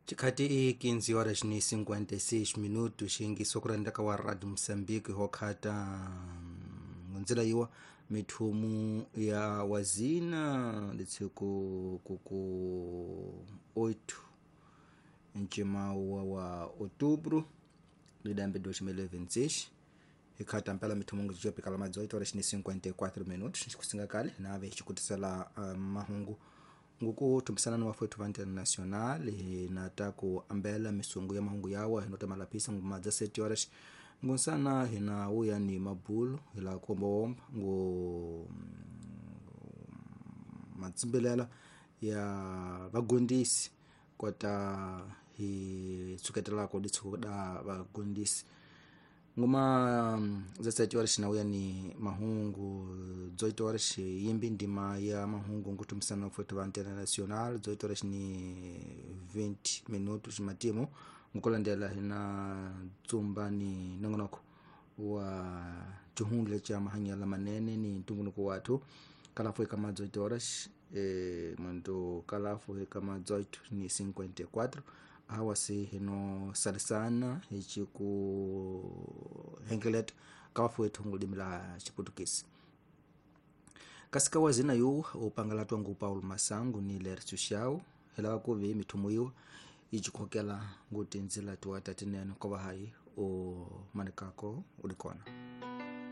Chikhati i 15 horas ni 56 minutos, xiyingiso ku rhandaka wa Radio Mozambique ho khata ndzila yiwa mithumu ya wazina litshiku ku 8 ncimawa wa outubro lidambe 2026 hikhata mpela mithumu ngijopikala ma 18 horas ni 54 minutos xikusinga kale nave xikutisela mahungu nguku thumbisana ni wafwethu va international hi nata ku ambela misungu ya mahungu yawa hi nota malapisa nguma dza 7 horas ngunsana hina wuya ni mabulu hi la kuombawomba ngu matsimbelela ya vagondisi kota hi tsuketelako ditshuku da vagondisi nguma dza 7 horas na wuya ni mahungu 18 horas yimbi ndima ya mahungu ngutumisana wafwethu va international 18 horas ni 20 minutos matimu ngukulandela hina tsumba ni nongonoko wa cihundle ca mahanyela manene ni ntumbuluko wathu kalafu eka ma 18 horas muntu kalafu eka ma 18 ni 54 awa se hino salisana hici ku hengeleta kawafu wetu ngulimi la Xiputukisi kasi ka wazina yu upangala twangu Paulo Masangu ni Lercio Shau helava kuvi mithumu yiwa icikhokela nguti ndzila tiwa tatinene kova hayi u manikako uli kona.